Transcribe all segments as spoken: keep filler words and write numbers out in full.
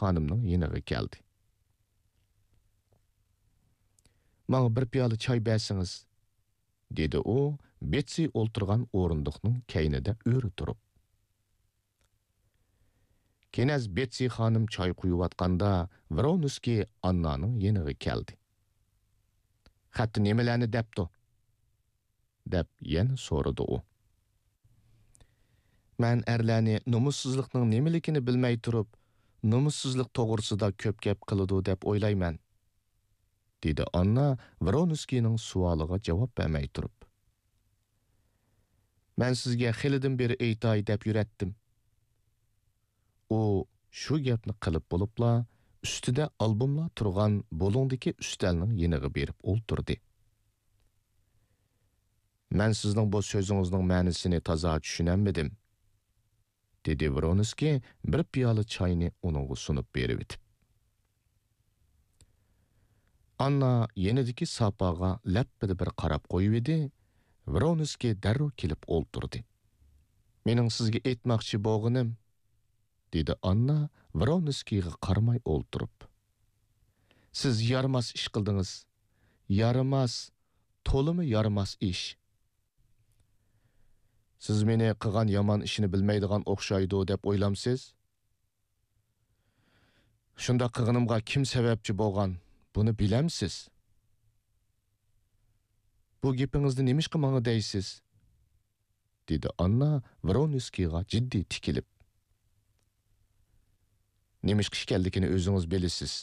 خانىمنىڭ يېنىغا كەلدى. «ماڭا بىر پىيالە چاي بەرسىڭىز»، دېدى ئۇ بېتسى ئولتۇرغان ئورۇندۇقنىڭ كەينىدە ئۆرە تۇرۇپ. كېنەز بېتسى خانىم چاي قۇيۇۋاتقاندا، ۋرونسكىي ئاننانىڭ يېنىغا كەلدى. «خەتتە نېمىلەرنى دەپتۇ؟» دەپ يەنە سورىدى ئۇ. «مەن ئەرلەرنى نومۇسسىزلىقنىڭ نېمىلىكىنى بىلمەي تۇرۇپ، نومۇسسىزلىق توغرىسىدا كۆپ گەپ قىلىدۇ دەپ ئويلايمەن»، دېدى ئاننا ۋرونسكىينىڭ سوئالىغا جاۋاب بەرمەي تۇرۇپ. «مەن سىزگە خېلىدىن بېرى ئېيتاي دەپ يۈرەتتىم.» ئۇ شۇ گەپنى قىلىپ بولۇپلا، ئۈستىدە ئالبوملار تۇرغان بۇلۇڭدىكى ئۈستەلنىڭ يېنىغا بېرىپ ئولتۇردى. «مەن سىزنىڭ بۇ سۆزىڭىزنىڭ مەنىسىنى تازا چۈشىنەلمىدىم»، دېدى ۋرونسكىي بىر پىيالە چاينى ئۇنىڭغا سۇنۇپ بېرىۋېتىپ. ئاننا يېنىدىكى ساپاغا لەپپىدە بىر قاراپ قويۇۋىدى، ۋرونسكىي دەررۇ كېلىپ ئولتۇردى. «مېنىڭ سىزگە ئېيتماقچى بولغىنىم»، دېدى ئاننا ۋرونسكىيغا قارىماي ئولتۇرۇپ. «سىز يارىماس ئىش قىلدىڭىز. يارىماس، تولىمۇ يارىماس ئىش.» «سىز مېنى قىلغان يامان ئىشنى بىلمەيدىغان ئوخشايدۇ دەپ ئويلامسىز؟ شۇنداق قىلغىنىمغا كىم سەۋەبچى بولغان، بۇنى بىلەمسىز؟ بۇ گېپىڭىزنى نېمىشقا ماڭا دەيسىز؟» دېدى ئاننا ۋرونسكىيغا جىددىي تىكىلىپ. «نېمىشقا ئىكەنلىكىنى ئۆزىڭىز بىلىسىز»،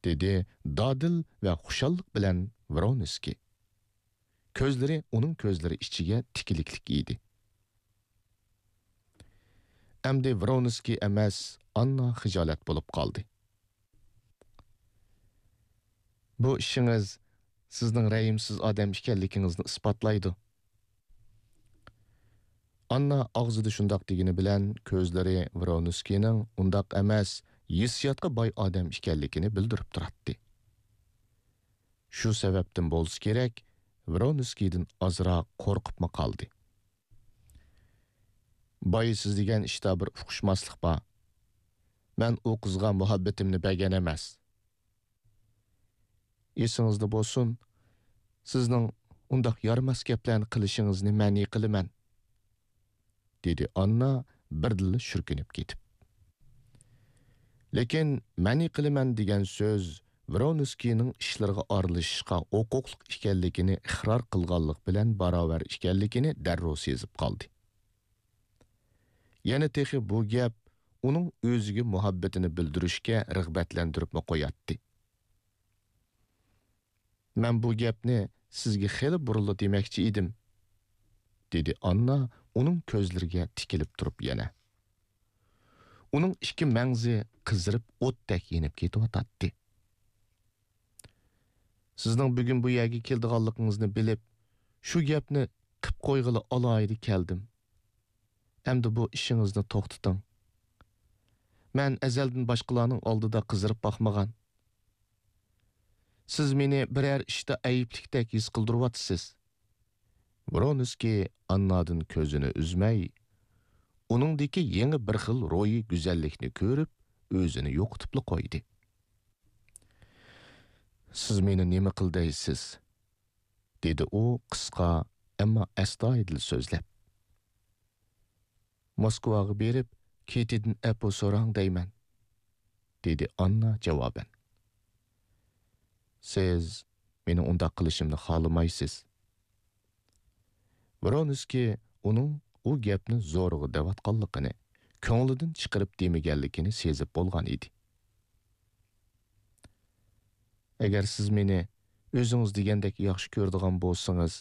دېدى دادىل ۋە خۇشاللىق بىلەن ۋرونسكىي. كۆزلىرى ئۇنىڭ كۆزلىرى ئىچىگە تىكىلىكلىك ئىدى. ئەمدى ۋرونسكىي ئەمەس، ئاننا خىجالەت بولۇپ قالدى. «بۇ ئىشىڭىز سىزنىڭ رەھىمسىز ئادەم ئىكەنلىكىڭىزنى ئىسپاتلايدۇ.» ئاننا ئاغزىدا شۇنداق دېگىنى بىلەن، كۆزلىرى ۋرونسكىينىڭ ئۇنداق ئەمەس، ھېسسىياتقا باي ئادەم ئىكەنلىكىنى بىلدۈرۈپ تۇراتتى. شۇ سەۋەبتىن بولسا كېرەك، ۋرونسكىيدىن ئازراق قورقۇپمۇ قالدى. «بايا سىز دېگەن ئىشتا بىر ئۇقۇشماسلىق بار. مەن ئۇ قىزغا مۇھەببىتىمنى بەرگەن ئەمەس.» «ئېسىڭىزدە بولسۇن، سىزنىڭ ئۇنداق يارىماس گەپلەرنى قىلىشىڭىزنى مەنئى قىلىمەن.» دېدى ئاننا بىردىنلا شۈركۈنۈپ كېتىپ. لېكىن «مەنئى قىلىمەن» دېگەن سۆز ۋرونسكىينىڭ ئىشلىرىغا ئارىلىشىشقا ھوقۇقلۇق ئىكەنلىكىنى ئىقرار قىلغانلىق بىلەن باراۋەر ئىكەنلىكىنى دەررۇ سېزىپ قالدى. يەنە تېخى بۇ گەپ ئۇنىڭ ئۆزىگە مۇھەببىتىنى بىلدۈرۈشكە رىغبەتلەندۈرۈپمۇ قوياتتى. «مەن بۇ گەپنى سىزگە خېلى بۇرۇنلا دېمەكچى ئىدىم»، دېدى ئاننا ئۇنىڭ كۆزلىرىگە تىكىلىپ تۇرۇپ يەنە. ئۇنىڭ ئىككى مەڭزى قىزىرىپ ئوتتەك يېنىپ كېتىۋاتاتتى. «سىزنىڭ بۈگۈن بۇ يەرگە كېلىدىغانلىقىڭىزنى بىلىپ، شۇ گەپنى قىپ قويغىلى ئالاھىدە كەلدىم. ئەمدى بۇ ئىشىڭىزنى توختىتىڭ. مەن ئەزەلدىن باشقىلارنىڭ ئالدىدا قىزىرىپ باقمىغان. سىز مېنى بىرەر ئىشتا ئەيىبلىكتەك ھېس قىلدۇرۇۋاتىسىز.» ۋرونسكىي ئاننادىن كۆزىنى ئۈزمەي، ئۇنىڭدىكى يېڭى بىر خىل روھىي گۈزەللىكنى كۆرۈپ، ئۆزىنى يوقىتىپلا قويدى. «سىز مېنى نېمە قىل دەيسىز؟» دېدى ئۇ قىسقا، ئەمما ئەستايىدىل سۆزلەپ. «موسكۋاغا بېرىپ، كېتىدىن ئەپۇ سوراڭ دەيمەن»، دېدى ئاننا جاۋابەن. «سىز مېنىڭ ئۇنداق قىلىشىمنى خالىمايسىز.» ۋرونسكىي ئۇنىڭ ئۇ گەپنى زورىغا دەۋاتقانلىقىنى، كۆڭلىدىن چىقىرىپ دېمىگەنلىكىنى سېزىپ بولغان ئىدى. «ئەگەر سىز مېنى ئۆزىڭىز دېگەندەك ياخشى كۆرىدىغان بولسىڭىز»،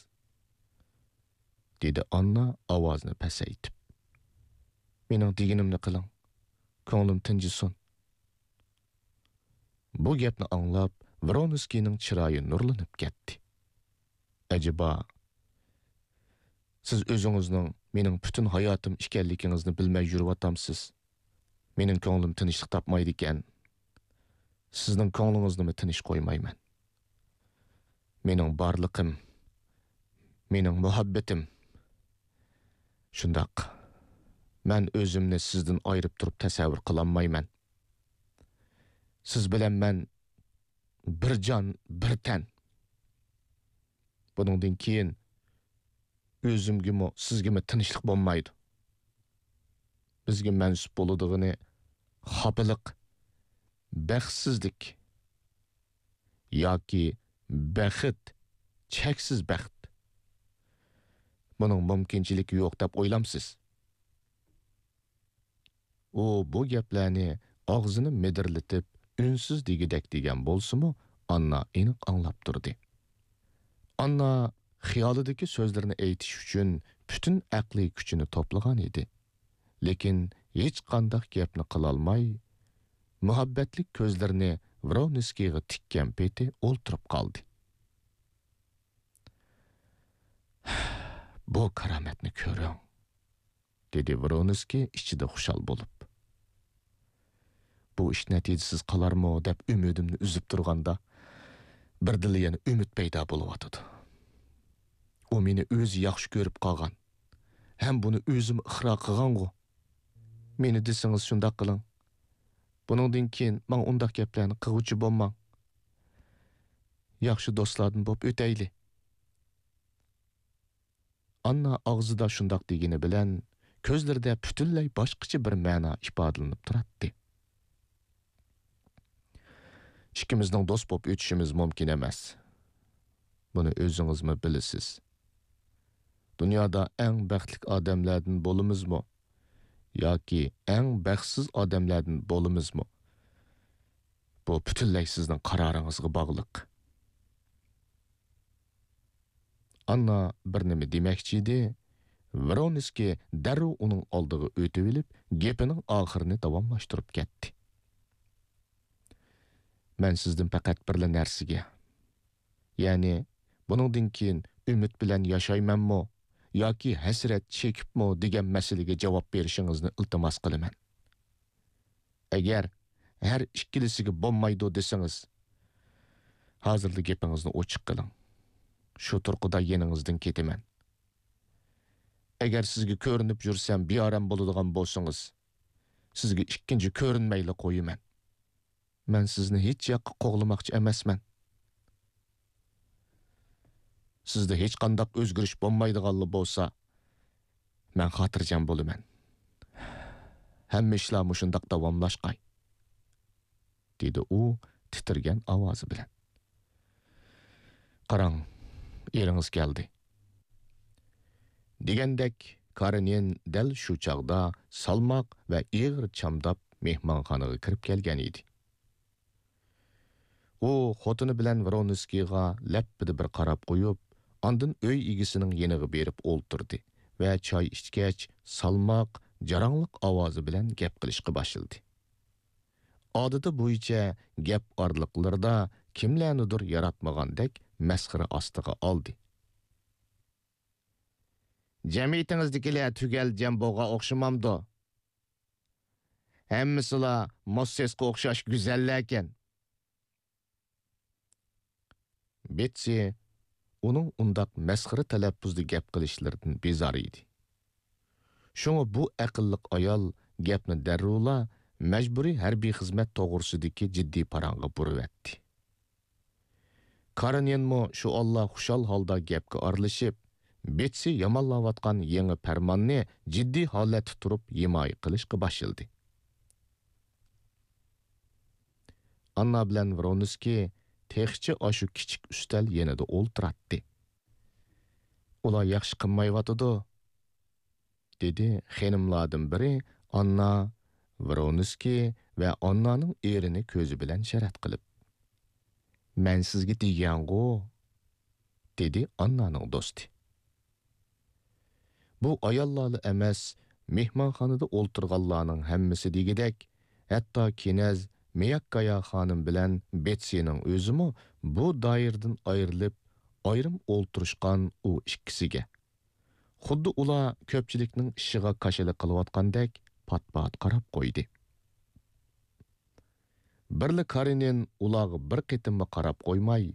دېدى ئاننا ئاۋازىنى پەسەيتىپ. «مېنىڭ دېگىنىمنى قىلىڭ، كۆڭلۈم تىنجىسۇن.» بۇ گەپنى ئاڭلاپ، ۋرونسكىينىڭ چىرايى نۇرلىنىپ كەتتى. «ئەجەبا، سىز ئۆزىڭىزنىڭ مېنىڭ پۈتۈن ھاياتىم ئىكەنلىكىڭىزنى بىلمەي يۈرۈۋاتامسىز؟ مېنىڭ كۆڭلۈم تىنچلىق تاپمايدىكەن، سىزنىڭ كۆڭلىڭىزنىمۇ تىنچ قويمايمەن. مېنىڭ بارلىقىم، مېنىڭ مۇھەببىتىم. شۇنداق، مەن ئۆزۈمنى سىزدىن ئايرىپ تۇرۇپ تەسەۋۋۇر قىلالمايمەن.» سىز بىلەن مەن بىر جان، بىر تەن. بۇنىڭدىن كېيىن ئۆزۈمگىمۇ، سىزگىمۇ تىنچلىق بولمايدۇ. بىزگە مەنسۇپ بولىدىغىنى خاپىلىق، بەختسىزلىك ياكى بەخت، چەكسىز بەخت. بۇنىڭ مۇمكىنچىلىكى يوق دەپ ئويلامسىز؟ ئۇ بۇ گەپلەرنى ئاغزىنى مىدىرلىتىپ، ئۈنسىز دېگۈدەك دېگەن بولسىمۇ، ئاننا ئېنىق ئاڭلاپ تۇردى. ئاننا خىيالىدىكى سۆزلىرىنى ئېيتىش ئۈچۈن پۈتۈن ئەقلىي كۈچىنى توپلىغان ئىدى. لېكىن ھېچقانداق گەپنى قىلالماي، مۇھەببەتلىك كۆزلىرىنى ۋرونسكىيغا تىككەن پېتى ئولتۇرۇپ قالدى. بۇ كارامەتنى كۆرۈڭ، دېدى ۋرونسكىي ئىچىدە خۇشال بولۇپ. بۇ ئىش نەتىجىسىز قالارمۇ دەپ ئۈمىدىمنى ئۈزۈپ تۇرغاندا، بىردىنلا يەنە ئۈمىد پەيدا بولۇۋاتىدۇ. ئۇ مېنى ئۆزى ياخشى كۆرۈپ قالغان ھەم بۇنى ئۆزىمۇ ئىقرار قىلغانغۇ. مېنى دېسىڭىز شۇنداق قىلىڭ. بۇنىڭدىن كېيىن ماڭا ئۇنداق گەپلەرنى قىلغۇچى بولماڭ. ياخشى دوستلاردىن بولۇپ ئۆتەيلى. ئاننا ئاغزىدا شۇنداق دېگىنى بىلەن، كۆزلىرىدە پۈتۈنلەي باشقىچە بىر مەنا ئىپادىلىنىپ تۇراتتى. ئىككىمىزنىڭ دوست بولۇپ ئۆتۈشىمىز مۇمكىن ئەمەس. بۇنى ئۆزىڭىزمۇ بىلىسىز. دۇنيادا ئەڭ بەختلىك ئادەملەردىن بولىمىزمۇ ياكى ئەڭ بەختسىز ئادەملەردىن بولىمىزمۇ، بۇ پۈتۈنلەي سىزنىڭ قارارىڭىزغا باغلىق. ئاننا بىر نېمە دېمەكچى ئىدى، ۋرونسكىي دەررۇ ئۇنىڭ ئالدىغا ئۆتۈۋېلىپ، گېپىنىڭ ئاخىرىنى داۋاملاشتۇرۇپ كەتتى. مەن سىزدىن پەقەت بىرلا نەرسىگە، يەنى بۇنىڭدىن كېيىن ئۈمىد بىلەن ياشايمەنمۇ ياكى ھەسرەت چېكىپمۇ دېگەن مەسىلىگە جاۋاب بېرىشىڭىزنى ئىلتىماس قىلىمەن. ئەگەر ھەر ئىككىلىسىگە بولمايدۇ دېسىڭىز، ھازىرلا گېپىڭىزنى ئوچۇق قىلىڭ. شۇ تۇرقىدا يېنىڭىزدىن كېتىمەن. ئەگەر سىزگە كۆرۈنۈپ يۈرسەم بىئارام بولىدىغان بولسىڭىز، سىزگە ئىككىنچى كۆرۈنمەيلا قويىمەن. مەن سىزنى ھېچ ياققا قوغلىماقچى ئەمەسمەن. سىزدە ھېچقانداق ئۆزگىرىش بولمايدىغانلا بولسا، مەن خاتىرجەم بولىمەن. ھەممە ئىشلار مۇشۇنداق داۋاملاشقاي، دېدى ئۇ تىترىگەن ئاۋازى بىلەن. قاراڭ، ئېرىڭىز كەلدى. دېگەندەك، كارېنىن دەل شۇ چاغدا سالماق ۋە ئېغىر چامداپ مېھمانخانىغا كىرىپ كەلگەن ئىدى. ئۇ خوتۇنى بىلەن ۋرونسكىيغا لەپپىدە بىر قاراپ قويۇپ، ئاندىن ئۆي ئىگىسىنىڭ يېنىغا بېرىپ ئولتۇردى ۋە چاي ئىچكەچ، سالماق، جاراڭلىق ئاۋازى بىلەن گەپ قىلىشقا باشلىدى. ئادىتى بويىچە گەپ ئارىلىقلىرىدا كىملەرنىدۇر ياراتمىغاندەك مەسخىرە ئاستىغا ئالدى. جەمئىيىتىڭىزدىكىلەر تۈگەل جەمبوغا ئوخشىمامدۇ؟ ھەممىسىلا موسسېسقا ئوخشاش گۈزەللەركەن. بېتسى ئۇنىڭ ئۇنداق مەسخىرە تەلەپپۇزدا گەپ قىلىشلىرىدىن بىزار ئىدى. شۇڭا بۇ ئەقىللىق ئايال گەپنى دەررۇلا مەجبۇرىي ھەربىي خىزمەت توغرىسىدىكى جىددىي پاراڭغا بۇرۇۋەتتى. كارېنىنمۇ شۇ ئاللا خۇشال ھالدا گەپكە ئارىلىشىپ، بېتسى يامانلاۋاتقان يېڭى پەرماننى جىددىي ھالەتتە تۇرۇپ ھىمايە قىلىشقا باشلىدى. ئاننا بىلەن ۋرونسكىي تېخىچە ئاشۇ كىچىك ئۈستەل يېنىدا ئولتۇراتتى. ئۇلار ياخشى قىلمايۋاتىدۇ، دېدى خېنىملاردىن بىرى ئاننا، ۋرونسكىي ۋە ئاننانىڭ ئېرىنى كۆزى بىلەن شەرەت قىلىپ. مەن سىزگە دېگەنغۇ، دېدى ئاننانىڭ دوستى. بۇ ئاياللارلا ئەمەس، مېھمانخانىدا ئولتۇرغانلارنىڭ ھەممىسى دېگۈدەك، ھەتتا كېنەز مىياككايا خانىم بىلەن بېتسىنىڭ ئۆزىمۇ بۇ دائىرىدىن ئايرىلىپ، ئايرىم ئولتۇرۇشقان ئۇ ئىككىسىگە، خۇددى ئۇلار كۆپچىلىكنىڭ ئىشىغا كاشىلا قىلىۋاتقاندەك پات-پات قاراپ قويدى. بىرلا كارېنىن ئۇلارغا بىر قېتىممۇ قاراپ قويماي،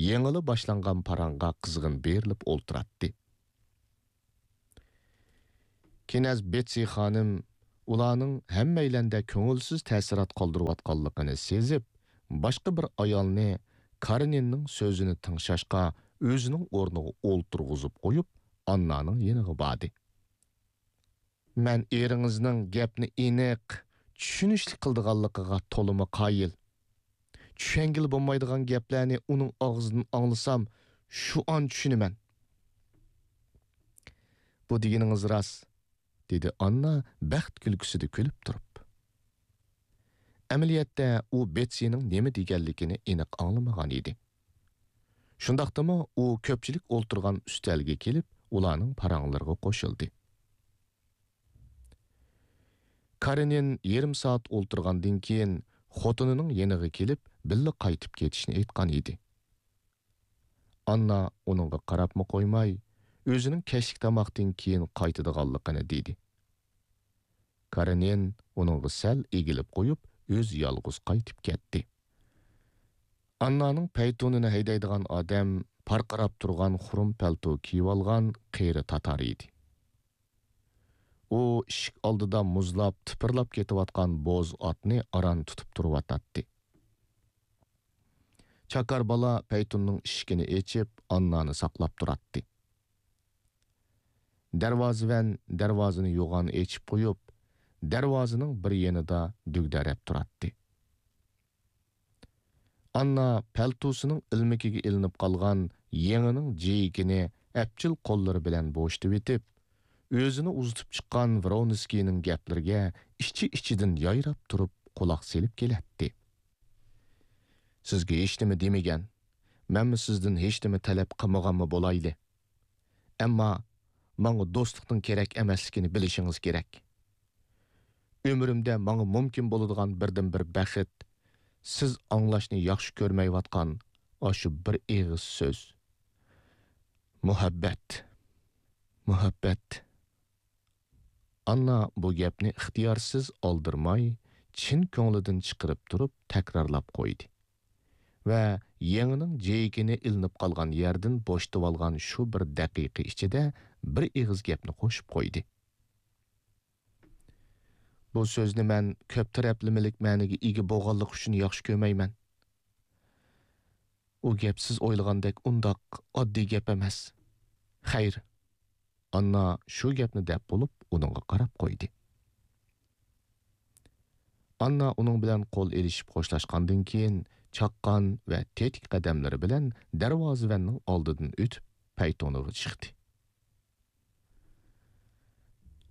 يېڭىلا باشلانغان پاراڭغا قىزغىن بېرىلىپ ئولتۇراتتى. كېنەز بېتسى خانىم ئۇلارنىڭ ھەممەيلەندە كۆڭۈلسىز تەسىرات قالدۇرۇۋاتقانلىقىنى سېزىپ، باشقا بىر ئايالنى كارېنىننىڭ سۆزىنى تىڭشاشقا ئۆزىنىڭ ئورنىغا ئولتۇرغۇزۇپ قويۇپ، ئاننانىڭ يېنىغا باردى. مەن ئېرىڭىزنىڭ گەپنى ئېنىق، چۈشىنىشلىك قىلىدىغانلىقىغا تولىمۇ قايىل. چۈشەنگىلى بولمايدىغان گەپلەرنى ئۇنىڭ ئاغزىدىن ئاڭلىسام، شۇ ئان چۈشىنىمەن. بۇ دېگىنىڭىز راست، دېدى ئاننا بەخت كۈلكىسىدە كۈلۈپ تۇرۇپ. ئەمەلىيەتتە ئۇ بېتسىنىڭ نېمە دېگەنلىكىنى ئېنىق ئاڭلىمىغان ئىدى. شۇنداقتىمۇ ئۇ كۆپچىلىك ئولتۇرغان ئۈستەلگە كېلىپ، ئۇلارنىڭ پاراڭلىرىغا قوشۇلدى. كارېنىن يېرىم سائەت ئولتۇرغاندىن كېيىن خوتۇنىنىڭ يېنىغا كېلىپ، بىللە قايتىپ كېتىشنى ئېيتقان ئىدى. ئاننا ئۇنىڭغا قاراپمۇ قويماي، ئۆزىنىڭ كەچلىك تاماقتىن كېيىن قايتىدىغانلىقىنى دېدى. كارېنىن ئۇنىڭغا سەل ئېگىلىپ قويۇپ، ئۆزى يالغۇز قايتىپ كەتتى. ئاننانىڭ پەيتۇنىنى ھەيدەيدىغان ئادەم پارقىراپ تۇرغان خۇرۇم پەلتو كىيىۋالغان قېرى تاتار ئىدى. ئۇ ئىشىك ئالدىدا مۇزلاپ، تىپىرلاپ كېتىۋاتقان بوز ئاتنى ئاران تۇتۇپ تۇرۇۋاتاتتى. چاكار بالا پەيتۇننىڭ ئىشىكىنى ئېچىپ، ئاننانى ساقلاپ تۇراتتى. دەرۋازىۋەن دەرۋازىنى يوغان ئېچىپ قويۇپ، دەرۋازىنىڭ بىر يېنىدا دۈگدەرەپ تۇراتتى. ئاننا پەلتوسىنىڭ ئىلمىكىگە ئىلىنىپ قالغان يېڭىنىڭ جېيىكىنى ئەپچىل قوللىرى بىلەن بوشىتىۋېتىپ، ئۆزىنى ئۇزىتىپ چىققان ۋرونسكىينىڭ گەپلىرىگە ئىچى-ئىچىدىن يايراپ تۇرۇپ قۇلاق سېلىپ كېلەتتى. سىزگە ھېچنېمە دېمىگەن، مەنمۇ سىزدىن ھېچنېمە تەلەپ قىلمىغانمۇ بولايلى. ئەمما ماڭا دوستلۇقنىڭ كېرەك ئەمەسلىكىنى بىلىشىڭىز كېرەك. ئۆمرۈمدە ماڭا مۇمكىن بولىدىغان بىردىنبىر بەخت، سىز ئاڭلاشنى ياخشى كۆرمەيۋاتقان ئاشۇ بىر ئېغىز سۆز. مۇھەببەت. مۇھەببەت. ئاننا بۇ گەپنى ئىختىيارسىز ئالدىرىماي، چىن كۆڭلىدىن چىقىرىپ تۇرۇپ تەكرارلاپ قويدى. ۋە يېڭىنىڭ جېيىكىنى ئىلىنىپ قالغان يەردىن بوشىتىۋالغان شۇ بىر دەقىقە ئىچىدە بىر ئېغىز گەپنى قوشۇپ قويدى. بۇ سۆزنى مەن كۆپ تەرەپلىمىلىك مەنىگە ئىگە بولغانلىقى ئۈچۈن ياخشى كۆرمەيمەن. ئۇ گەپ سىز ئويلىغاندەك ئۇنداق ئاددىي گەپ ئەمەس. خەير. ئاننا شۇ گەپنى دەپ بولۇپ، ئۇنىڭغا قاراپ قويدى. ئاننا ئۇنىڭ بىلەن قول ئېلىشىپ خوشلاشقاندىن كېيىن، چاققان ۋە تېتىك قەدەملىرى بىلەن دەرۋازىۋەننىڭ ئالدىدىن ئۆتۈپ، پەيتۇنىغا چىقتى.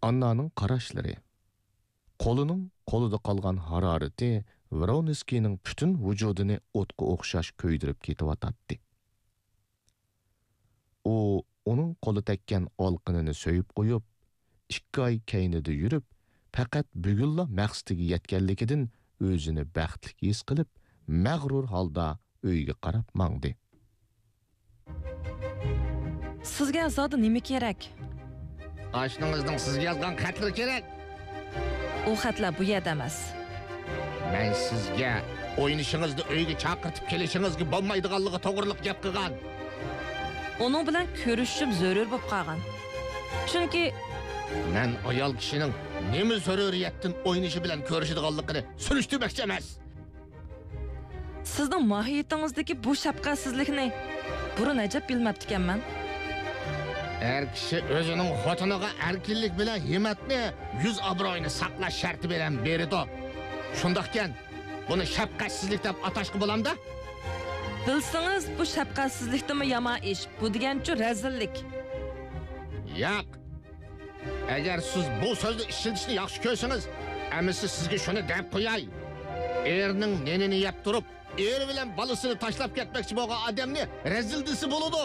ئاننانىڭ قاراشلىرى، قولىنىڭ قولىدا قالغان ھارارىتى ۋرونسكىينىڭ پۈتۈن ۋۇجۇدىنى ئوتقا ئوخشاش كۆيدۈرۈپ كېتىۋاتاتتى. ئۇ ئۇنىڭ قولى تەگكەن ئالىقىنىنى سۆيۈپ قويۇپ، ئىككى ئاي كەينىدە يۈرۈپ، پەقەت بۈگۈنلا مەقسىتىگە يەتكەنلىكىدىن ئۆزىنى بەختلىك ھېس قىلىپ، مەغرۇر ھالدا ئۆيىگە قاراپ ماڭدى. سىزگە زادى نېمە كېرەك؟ ئاشنىڭىزنىڭ سىزگە يازغان خەتلىرى كېرەك. ئۇ خەتلەر بۇ يەردە ئەمەس. مەن سىزگە ئوينىشىڭىزنى ئۆيگە چاقىرتىپ كېلىشىڭىزگە بولمايدىغانلىقى توغرىلىق گەپ قىلغان. ئۇنىڭ بىلەن كۆرۈشۈشۈم زۆرۈر بولۇپ قالغان. چۈنكى مەن ئايال كىشىنىڭ نېمە زۆرۈرىيەتتىن ئوينىشى بىلەن كۆرۈشىدىغانلىقىنى سۈرۈشتۈرمەكچى ئەمەس. سىزنىڭ ماھىيىتىڭىزدىكى بۇ شەپقەتسىزلىكنى بۇرۇن ئەجەب بىلمەپتىكەنمەن. ئەر كىشى ئۆزىنىڭ خوتۇنىغا ئەركىنلىك بىلەن ھىممەتنى، يۈز ئابرۇيىنى ساقلاش شەرتى بىلەن بېرىدۇ. شۇنداقكەن، بۇنى شەپقەتسىزلىك دەپ ئاتاشقا بولامدا؟ بىلسىڭىز، بۇ شەپقەتسىزلىكتىنمۇ يامان ئىش. بۇ دېگەنچۇ رەزىللىك. ياق. ئەگەر سىز بۇ سۆزنى ئىشلىتىشنى ياخشى كۆرسىڭىز، ئەمىسە سىزگە شۇنى دەپ قوياي. ئېرىنىڭ نېنىنى يەپ تۇرۇپ، ئېرى بىلەن بالىسىنى تاشلاپ كەتمەكچى بولغان ئادەمنى رەزىل دېسە بولىدۇ.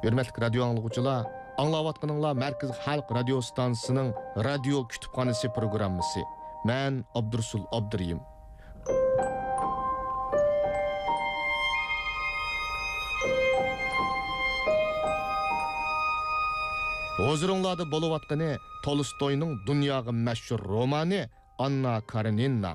ھۆرمەتلىك رادىيو ئاڭلىغۇچىلار، ئاڭلاۋاتقىنىڭلار مەركىزىي خەلق رادىيو ئىستانسىسىنىڭ رادىيو كۇتۇپخانىسى پروگراممىسى. مەن ئابدۇرۇسۇل ئابدۇرېھىم. ھۇزۇرۇڭلاردا بولۇۋاتقىنى تولستوينىڭ دۇنياغا مەشھۇر رومانى ئاننا كارېنىنا.